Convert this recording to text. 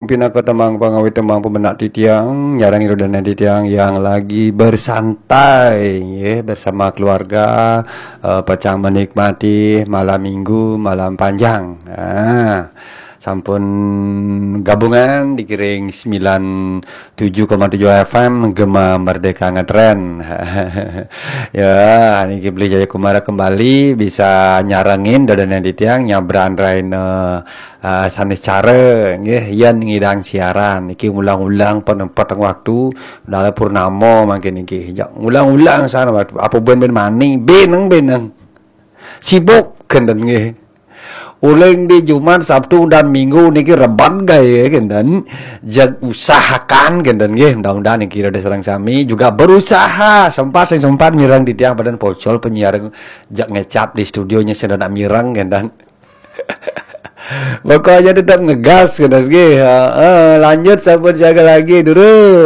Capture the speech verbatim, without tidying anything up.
Pinaka tembang pangawit, tembang pemenak titiang, nyarang irudanan titiang yang lagi bersantai, ya, bersama keluarga, eh, pacang menikmati malam minggu, malam panjang. Nah, sampun gabungan dikiring sembilan tujuh koma tujuh F M Gema Merdeka Ngetren. Ya, niki Beli Jaya Kumara kembali bisa nyarengin dodonan titiang nyabran raina, eh, sanis cara nggih, yen ngidang siaran niki ulang-ulang penempatan waktu dalam purnama mangkin niki. Jak ulang-ulang sana waktu apa ben-ben mani, beneng-beneng. Sibuk kenten nggih. Uling di Jumat, Sabtu, dan Minggu niki reban gaya kenten. Jag usahakan kenten nggih, mudah-mudahan niki rada sareng sami juga berusaha sempat sing sempat mireng titiang padan pocol penyiar jak ngecap di studionya sing nak mireng kenten. Pokoknya tetap ngegas kenten nggih. Ha, ha, lanjut sampun jaga lagi dulu.